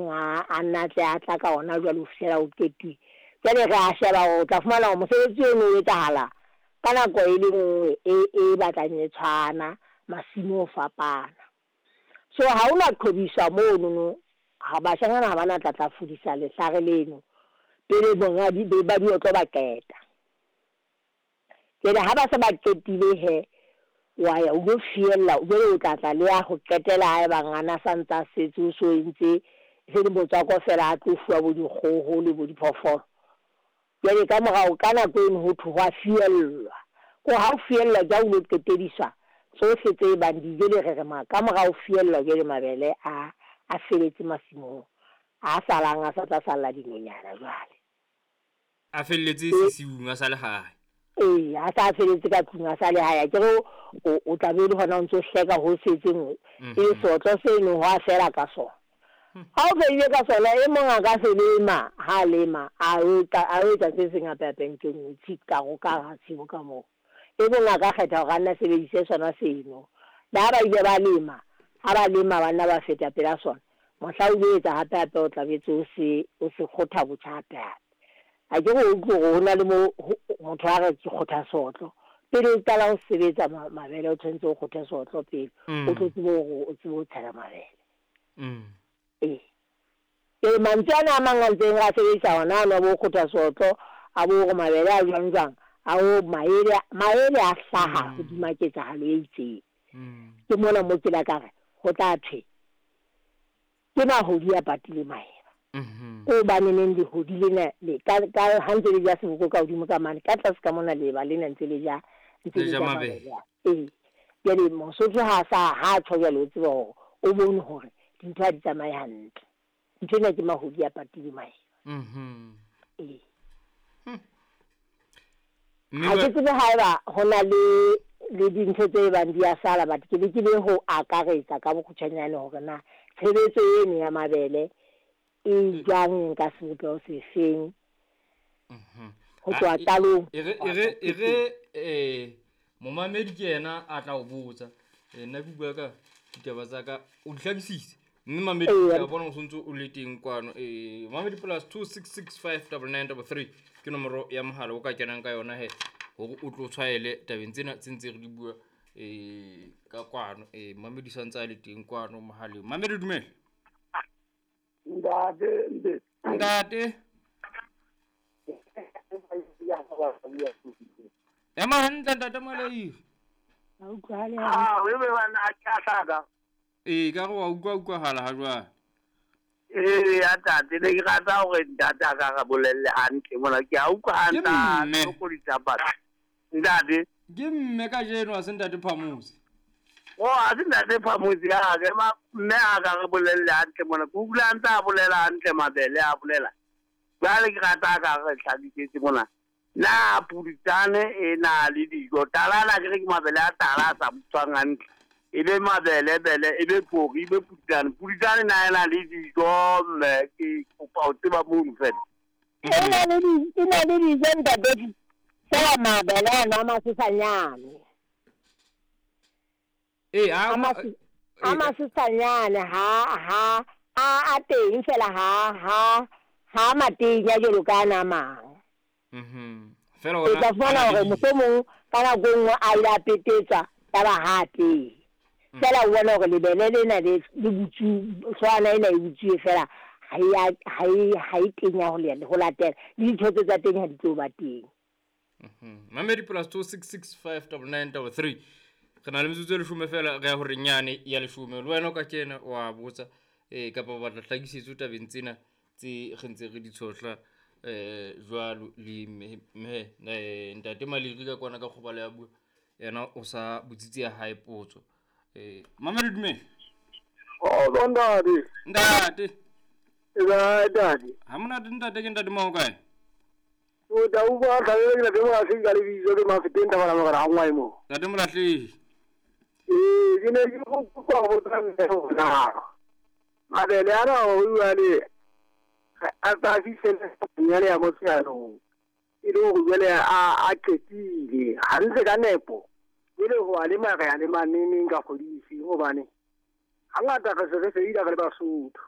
teng a nna tle a tla ka ona jwale ho fihlela o qetuwe. Jwale re a sheba hore o tla fumana hore mosebetsi ono o etsahala ka nako e le nngwe e e batlang e tshwana, masimo o fapana. So ha ho na qhobiswa monono, ha bashanyana ha ba na tla tla fudisa lehlare leno pele monga ba diotlo ba qeta. Jwale ha ba se ba qetile he, wa ya o lo fiella, jwale o tla tla le ya ho qetela ha eba ngwana sa ntsa setse o so entse se le motswako fela a tlo fuwa bo dikgoho le bo diphoofolo. Jwale ka morao ka nako eno ho thwe hwa fiellwa. Ko ha o fiellwa ke ha o lo qetediswa tsohle tse bang di jwale re re ma ka mora ho fiellwa jwale mabele a a feletse masimong, a salang a sa tla salla dinonyana jwale. A felletse sesiung a sa le hae. Ee, a sa feletse ka tlung a sa le hae. Akere o tla be le hona o ntso hleka ho setseng e seotlo seno ho a fela ka sona. Ha o fedile ka sona, e mong a ka se lema, ha lema a o etsa se seng hape hape ntho e nngwe ka ka hara tshimo ka moo. E mong a ka kgetha hore a nna sebedise sona seno. Le ha ba ile ba lema, ha ba lema ba nna ba feta pela sona, mohla o lo etsa hape hape o tla betse o se kgotha botjha hape hape. A ke re o utlwe hore ho na le mo motho a re ke kgotha seotlo. Pele o qala ho sebetsa mabele o tshwanetse o kgothe seotlo pele, o tlo tsebe hore o tsebe ho tshela mabele. Ee. Ee, mantswe ana a mang a ntseng re a sebedisa hona ano a bo kgotha seotlo, a bo hore mabele a jwang jwang, a o maele, maele a hlaha hodima ketsahalo e itseng. Ke mona mo ke la ka re ho tla thwe ke mahodi a patile maeba. Ko baneneng lehodi lena le ka ha ntse le ja seboko ka hodimo ka mane, ka tlase ka mona leeba lena ntse le ja mabele. Ee. Jwale Mosotho ha sa ha tjho jwale o tseba hore o bone hore dintho ha di tsamaye hantle. Ntho ena ke mahodi a patile maeba. Ee. Ha ke tsebe haeba ho na le dintho tse bang di a sala, but ke lekile ho akaretsa ka bokgutshwanyane hore na tshebetso eno ya mabele e jwang ka sebopeho sefeng ho tloha qalong. E re momamedi ke yena a tla o botsa, nna ke bua ka ditaba tsa ka, o di hlakisise. Mme mamedi ke a bona o sontso o le teng kwano. Mamedi plus 2665993 ke nomoro ya mohala o ka kenang ka yona he hore o tlo tshwaele tabeng tsena tse ntse re di bua ka kwano. Mamedi sa ntse a le teng kwano mohaleng. Mamedi dumela. Ntate. Ntate. Ema hantle ntate Malai. Ah, we bana a hlaka. Ee, ka re wa utlwa hala ha jwale. Ee, ya tate, ne ke rata hore ntate a ka re bolelle hantle mona, ke a utlwa hantle ko ditaba. Ntate. Ke mme kajeno a se ntate Phamusi. Oh, a se ntate Phamusi a ke ma mme a ka re bolelle hantle mona. Ke utlwa ntse a bolela hantle mabele a bolela. Jwale ke rata ka re hlakisetse mona. Na puditsane e na le dijo, talana ke re ke mabele a tala a sa butswang hantle. E be mabele bele, e be pori, e be puditsane. Puditsane na ena le dijo, mme ke kopa ho tseba mono fela. E na le dijo ntate, fela mabele ana a masesanyane. Ee, a masesanyane ha a teng fela ha matenya jwalo ka ana a mang. Fela o tla fumana hore mohlomong ka nako e nngwe a ile a petetswa ya ba ha teng. Fela o bona hore lebele lena le butsuwe, hloohwana ena e butsuwe fela ha e tenya ho latela. Le dithotse tsa teng ha di tlo ba teng. Mamedi plus 2665993. Re na le metsotso e leshome fela re ya hore nyane ya leshome. Le wena o ka kena wa botsa kapa o batla hlakisetso tabeng tsena tse re ntse re di tshohla jwalo le mme ntate Maliri ka kwana ka kgobalo ya bua yena o sa botsitse ya hae potso. Mamedi dumela. Oh, ntate. Ntate. Ntate. Ha monate ntate, ke ntate mo kae? O da u ba ka le ke mo a seng ka lebitso ke Mafeteng tabala mo ra ngwa mo. Ntate Molahlehi. Ee, ke ne ke go kopa go botsa mme hore mabele ana o bua le a tsa fihlele nyane ya motsheanong e le hore jwale a qetile hantle ka nepo, e le ho a lema re a lema neneng ka kgwedi efeng, hobane hangata re se re feila re le Basotho.